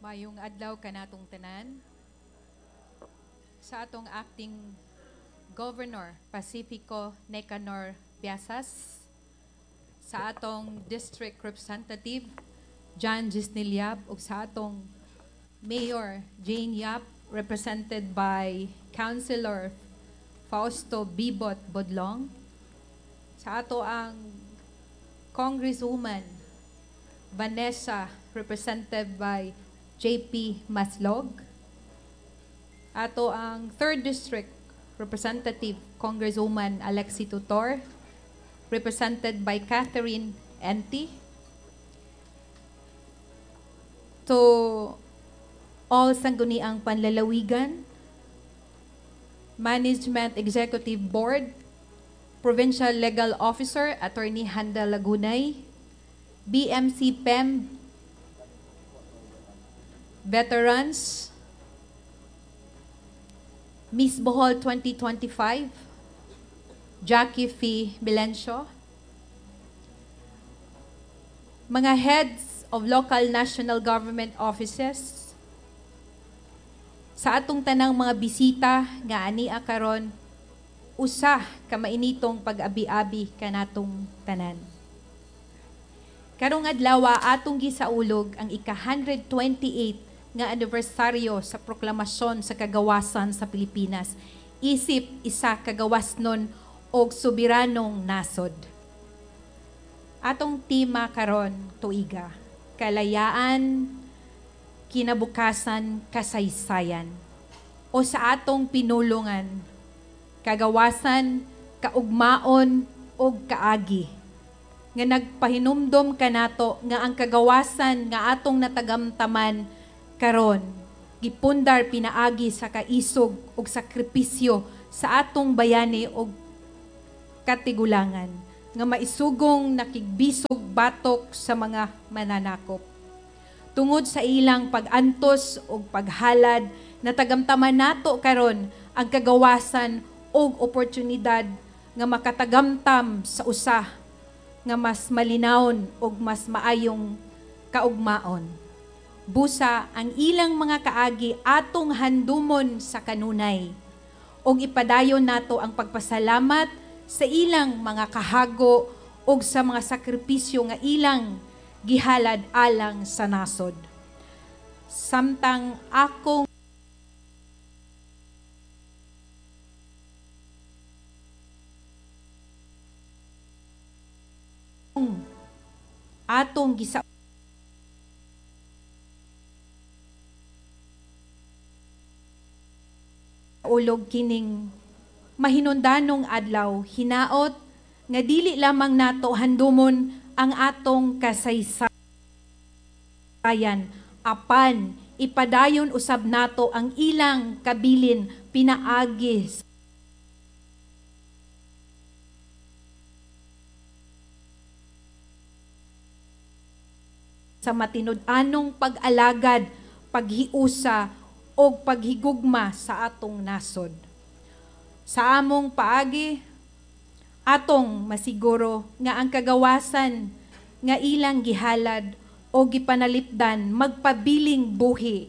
Mayong adlaw kanatong tanan. Sa atong acting Governor Pacifico Nicanor Biasas, sa atong District Representative John Gisnel Yap, ug sa atong Mayor Jane Yap, represented by Councilor Fausto Bibot Bodlong, sa ato ang Congresswoman Vanessa, represented by JP Maslog, ato ang 3rd District Representative Congresswoman Alexi Tutor, represented by Catherine Enti. To all Sangguniang Panlalawigan, Management Executive Board, Provincial Legal Officer, Attorney Handa Lagunay, BMC PEM, Veterans, Miss Bohol 2025, Jackie Fee Melencio, mga heads of local national government offices, sa atong tanang mga bisita nga ania karon, usa ka mainitong pag-abi-abi kanatong tanan. Karong adlaw atong gisaulog ang ika-128 nga anibersaryo sa proklamasyon sa kagawasan sa Pilipinas, isip isa kagawasnon og soberanong nasod. Atong tema karon tuiga, kalayaan, kinabukasan, kasaysayan. O sa atong pinulungan, kagawasan, kaugmaon og kaagi nga nagpahinumdom kanato nga ang kagawasan nga atong natagamtaman karon gipundar pinaagi sa kaisog ug sakripisyo sa atong bayani og katigulangan nga maisugong nakigbisog batok sa mga mananakop. Tungod sa ilang pag-antos ug paghalad, natagamtaman nato karon ang kagawasan ug oportunidad nga makatagamtam sa usa nga mas malinawon ug mas maayong kaugmaon. Busa ang ilang mga kaagi atong handumon sa kanunay ug ipadayon nato ang pagpasalamat sa ilang mga kahago ug sa mga sakripisyo nga ilang gihalad alang sa nasod. Samtang akong atong gisa ulog kining mahinundanong adlaw, hinaot nga dili lamang nato handumon ang atong kasaysayan, apan ipadayon usab nato ang ilang kabilin pinaagi sa matinud-anong pag-alagad, paghiusa o paghigugma sa atong nasod. Sa among paagi, atong masiguro nga ang kagawasan nga ilang gihalad o gipanalipdan magpabiling buhi